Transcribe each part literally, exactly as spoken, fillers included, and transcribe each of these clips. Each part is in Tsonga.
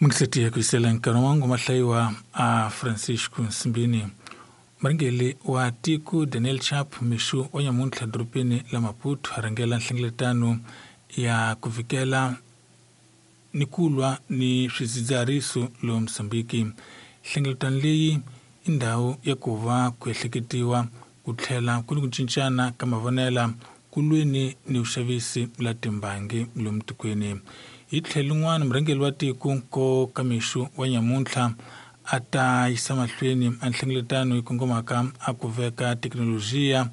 Mingiseti ku yisela nkarhi wa ngoma hlayiwa a Francisco Nsimbini. Murhangeri wa tiko Daniel Chapo mixo wa nyamuntlha dorobeni la Maputo a rhangela nhlengeletano ya ku vikela ni ku lwa ni swidzidziharisi lomu Mozambique. Nhlengeletano leyi i ndhawu ya ku va ku ehleketiwa ku tlhela ku ni ku cincana ka mavonelo ku lweni ni vuxavisi la timbangi lomu tikweni. Hi tlhelo rin'wana murhangeri wa tiko ko ka mixo wa nyamuntlha a ta yisa mahlweni a nhlengeletano yi kongomaka a ku veka thekinolojiya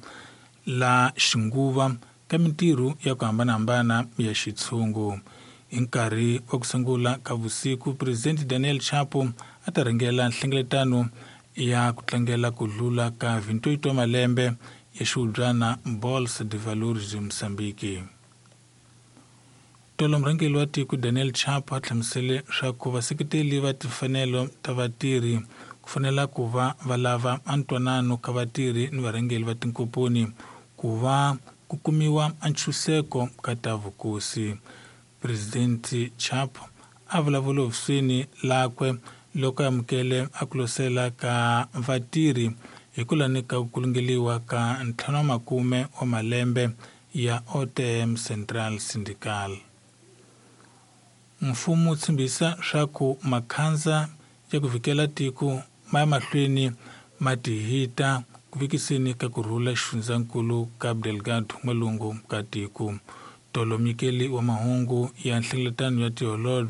la xinguva ka mintirho ya ku hambanahambana ya xitshungu. Hi nkarhi wa ku sungula ka vusiku President Daniel Chapo a ta rhangela nhlengeletano ya ku tlangela ku hlula ka vintoito wa malembe ya xihubyana Bolsa de Valores de Moçambique. Tolo murhangeri wa tiko Daniel Chapo a hlamusele swa ku vaseketeli va timfanelo ta vatirhi ku fanela ku va va lava a ntwanano ka vatirhi ni varhangeri va tinkomponi ku va ku kumiwa a ntshunxeko ka ta vukosi. President Chapo a vulavula hofisini lakwe loko a amukele a ku losela ka vatirhi hi ku lanika ku kulungeliwa ka ntlhanu wa makume wa malembe ya O T M Central Syndical. Mfumo wu tshembisa swa ku makhandza ya ku vikela tiko ma ya mahlweni ma tihita ku vikiseni ka ku rhula xifundzankulu Cabo Delgado n'walungu ka tiko. Tolo munyikeli wa mahungu ya nhlengeletano ya tiholobye